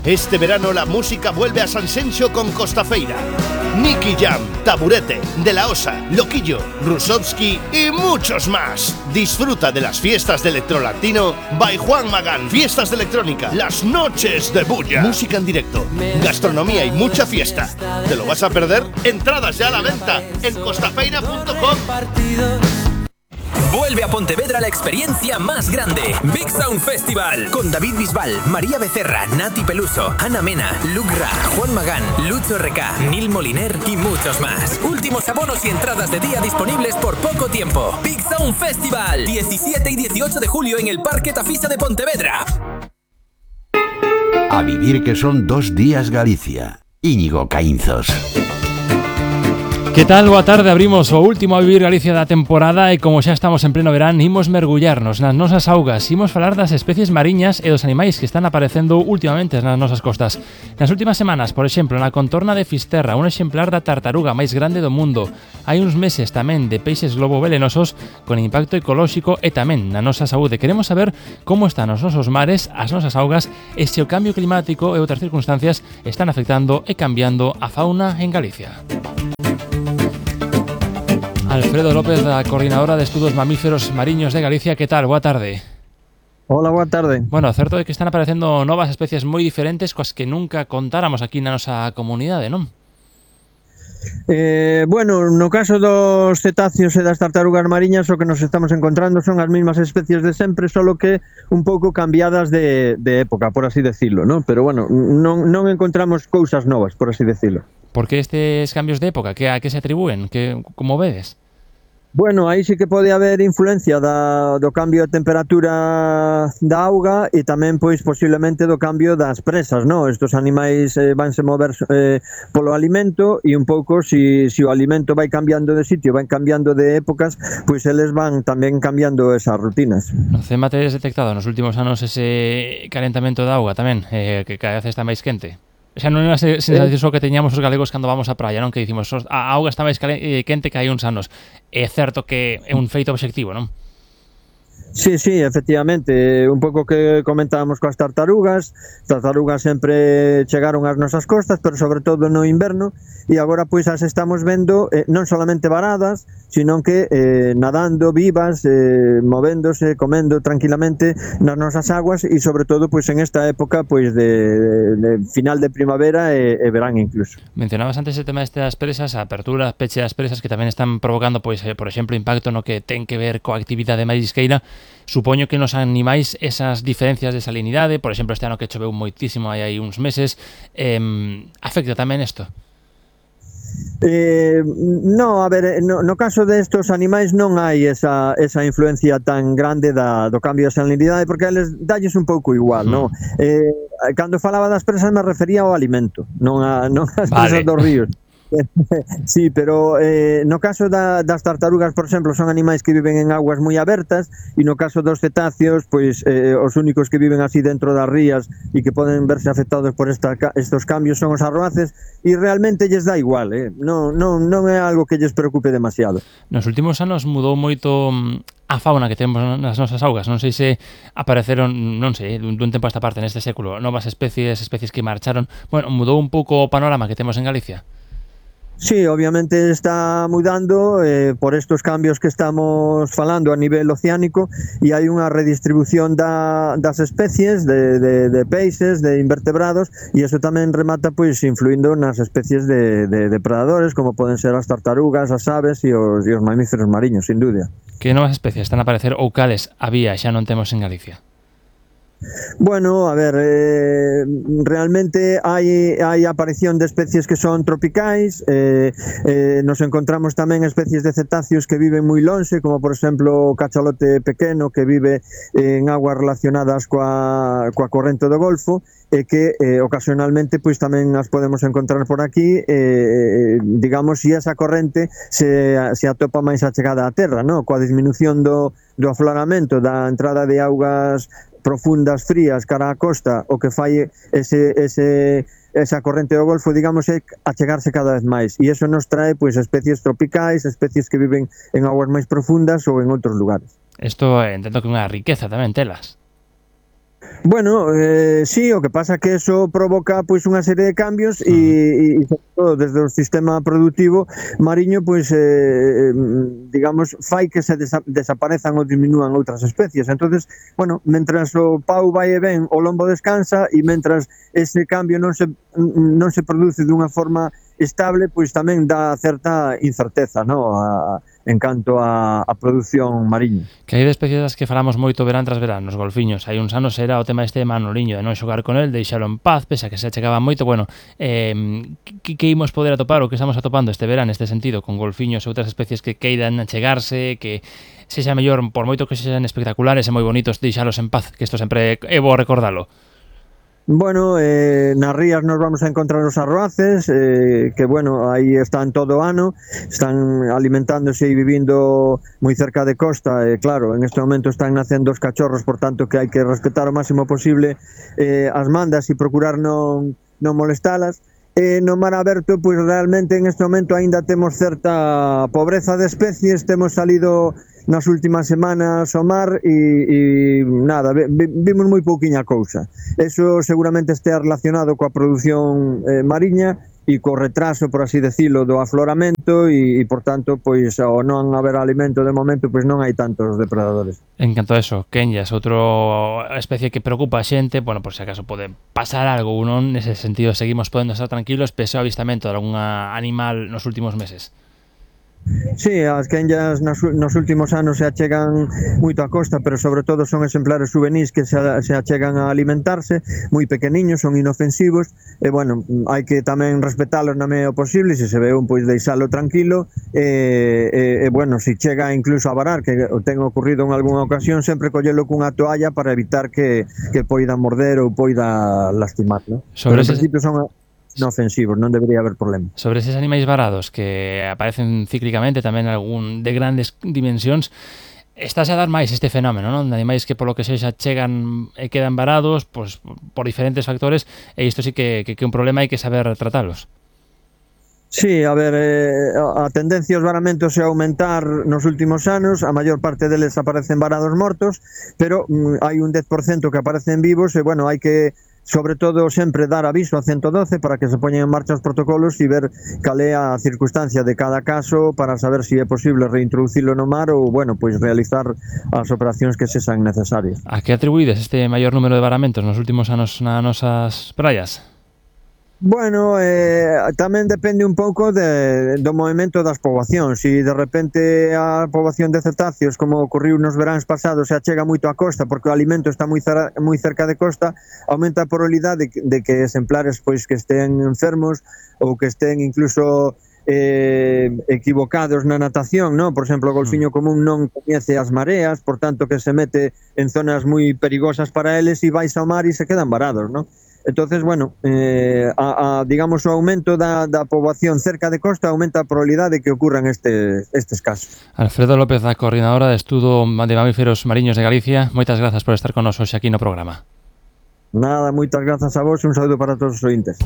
Este verano la música vuelve a Sanxenxo con Costafeira. Nicky Jam, Taburete, De La Osa, Loquillo, Rusovski y muchos más. Disfruta de las fiestas de Electrolatino by Juan Magán. Fiestas de electrónica, las noches de bulla. Música en directo, gastronomía y mucha fiesta. ¿Te lo vas a perder? Entradas ya a la venta en costafeira.com. Vuelve a Pontevedra la experiencia más grande, Big Sound Festival, con David Bisbal, María Becerra, Nati Peluso, Ana Mena, Luke Ra, Juan Magán, Lucho RK, Nil Moliner y muchos más. Últimos abonos y entradas de día disponibles por poco tiempo. Big Sound Festival, 17 y 18 de julio en el Parque Tafisa de Pontevedra. A vivir que son 2 días Galicia. Íñigo Caínzos. Que tal? Boa tarde, abrimos o último A Vivir Galicia da temporada e como xa estamos en pleno verán, imos mergullarnos nas nosas augas, imos falar das especies mariñas e dos animais que están aparecendo últimamente nas nosas costas. Nas últimas semanas, por exemplo, na contorna de Fisterra, un exemplar da tartaruga máis grande do mundo. Hai uns meses tamén de peixes globo velenosos con impacto ecolóxico e tamén na nosa saúde. Queremos saber como están os nosos mares, as nosas augas e se o cambio climático e outras circunstancias están afectando e cambiando a fauna en Galicia. Alfredo López, da Coordinadora de Estudos Mamíferos Mariños de Galicia, que tal? Boa tarde. Hola, boa tarde. Bueno, certo é que están aparecendo novas especies moi diferentes coas que nunca contáramos aquí na nosa comunidade, non? Bueno, no caso dos cetáceos e das tartarugas mariñas o que nos estamos encontrando son as mesmas especies de sempre, solo que un pouco cambiadas de época, por así decirlo, ¿no? Pero bueno, non encontramos cousas novas, por así decirlo. Por que estes cambios de época? A que se atribúen? Como vedes? Bueno, aí sí que pode haber influencia do cambio de temperatura da auga e tamén, pois, posiblemente do cambio das presas, non? Estos animais vanse mover polo alimento e un pouco, si o alimento vai cambiando de sitio, vai cambiando de épocas, pois eles van tamén cambiando esas rutinas. No CEMA tedes detectado nos últimos anos ese calentamento da auga tamén, que cada vez está máis quente? Xa non é unha sensación que teñamos os galegos cando vamos á praia, non? Que dicimos, a auga está máis quente que hai uns anos. É certo que é un feito obxectivo, non? Sí, efectivamente, un pouco que comentábamos coas tartarugas sempre chegaron ás nosas costas, pero sobre todo no inverno, e agora pois as estamos vendo non solamente varadas, sino que nadando vivas, movéndose, comendo tranquilamente nas nosas aguas e sobre todo pois en esta época pois de final de primavera e verán incluso. Mencionabas antes o tema destas presas, a apertura, peche das presas que tamén están provocando pois, por exemplo, impacto no que ten que ver coa actividade marisqueira. Supoño que nos animais esas diferencias de salinidade, por exemplo, este ano que choveu moitísimo hai uns meses, afecta tamén isto? No, a ver, no caso destos animais non hai esa influencia tan grande do cambio de salinidade, porque a eles dalles un pouco igual, non? Cando falaba das presas me refería ao alimento, non ás presas dos ríos. Sí, pero no caso das tartarugas, por exemplo, son animais que viven en aguas moi abertas e no caso dos cetáceos, pois os únicos que viven así dentro das rías e que poden verse afectados por estos cambios son os arroaces e realmente lles dá igual, non é algo que lles preocupe demasiado. Nos últimos anos mudou moito a fauna que temos nas nosas augas, non sei se apareceron, non sei, dun tempo a esta parte neste século, novas especies que marcharon, bueno, mudou un pouco o panorama que temos en Galicia. Sí, obviamente está mudando por estos cambios que estamos falando a nivel oceánico e hai unha redistribución das especies de peixes, de invertebrados e eso tamén remata pois influindo nas especies de depredadores como poden ser as tartarugas, as aves e os mamíferos mariños, sin dúbida. Que novas especies están a aparecer ou cales había xa non temos en Galicia? Bueno, a ver, realmente hai aparición de especies que son tropicais, nos encontramos tamén especies de cetáceos que viven moi lonxe, como por exemplo o cachalote pequeno que vive en aguas relacionadas coa corrente do Golfo e que ocasionalmente pois tamén as podemos encontrar por aquí, digamos, se esa corrente se atopa máis achegada á terra, no? Coa disminución do afloramento da entrada de augas profundas, frías, cara á costa, o que fai esa corrente do Golfo, digamos, é achegarse cada vez máis. E iso nos trae pois especies tropicais, especies que viven en aguas máis profundas ou en outros lugares. Isto entendo que é unha riqueza tamén telas. Bueno, sí, o que pasa que eso provoca pois unha serie de cambios e sobre todo desde o sistema productivo mariño pois digamos fai que se desaparezan ou diminúan outras especies. Entonces, bueno, mentras o pau vai e ben, o lombo descansa e mentras ese cambio non se produce dunha forma estable, pois tamén dá certa incerteza, no? En canto a produción mariña. Que hai de especies das que falamos moito verán tras verán, nos golfiños. Hai uns anos era o tema este de Manoliño, de non xogar con el, deixalo en paz, pese a que se achegaba moito. Bueno, que imos poder atopar ou que estamos atopando este verán neste sentido, con golfiños e outras especies que queiran achegarse, que sexa mellor, por moito que sexan espectaculares e moi bonitos, deixalos en paz, que isto sempre é bo recordalo. Bueno, nas rías nos vamos a encontrar os arroaces, que bueno, aí están todo o ano, están alimentándose e vivindo moi cerca de costa, e claro, en este momento están nacendo os cachorros, por tanto que hai que respetar o máximo posible as mandas e procurar non molestalas. No mar aberto, pois realmente en este momento aínda temos certa pobreza de especies, temos salido nas últimas semanas ao mar e nada, vimos moi pouquiña cousa. Eso seguramente estea relacionado coa produción mariña e co retraso, por así decirlo, do afloramento e por tanto, pois ao non haber alimento de momento, pois non hai tantos depredadores. En canto a eso, Kenyas, outra especie que preocupa a xente, bueno, por se acaso pode pasar algo ou non, nese sentido seguimos podendo estar tranquilos pese ao avistamento de algún animal nos últimos meses. Sí, as quenllas nos últimos anos se achegan moito á costa, pero sobre todo son exemplares juvenís que se achegan a alimentarse, moi pequeniños, son inofensivos, e bueno, hai que tamén respetalos na medida posible, se ve un, pois deixalo tranquilo, e bueno, se chega incluso a varar, que ten ocurrido en algunha ocasión, sempre collelo cunha toalla para evitar que poida morder ou poida lastimar, ¿no? Pero en principio son inofensivos, non debería haber problema. Sobre eses animais varados que aparecen cíclicamente, tamén algún de grandes dimensións, estáse a dar máis este fenómeno, non? De animais que polo que sexa chegan e quedan varados pois, por diferentes factores, e isto sí que un problema hai que saber tratalos. Sí, a ver, a tendencia aos varamentos é aumentar nos últimos anos, a maior parte deles aparecen varados mortos, pero hai un 10% que aparecen vivos e, bueno, hai que sobre todo sempre dar aviso a 112 para que se poñen en marcha os protocolos e ver cal é a circunstancia de cada caso para saber se é posible reintroducilo no mar ou, bueno, pois realizar as operacións que sexan necesarias. A que atribuídes este maior número de varamentos nos últimos anos nas nosas praias? Bueno, tamén depende un pouco do movimento das poboacións. Se de repente a poboación de cetáceos, como ocorriu nos veráns pasados, se achega moito á costa porque o alimento está moi cerca de costa, aumenta a probabilidade de que exemplares pois que estén enfermos ou que estén incluso equivocados na natación, ¿no? Por exemplo, o golfiño común non coñece as mareas, por tanto que se mete en zonas moi perigosas para eles e vais ao mar e se quedan varados, ¿no? Entonces, bueno, digamos o aumento da poboación cerca de costa aumenta a probabilidade de que ocurran estes casos. Alfredo López, a coordinadora de Estudo de Mamíferos Mariños de Galicia, moitas grazas por estar con nos hoxe aquí no programa. Nada, moitas grazas a vos e un saúdo para todos os ointes.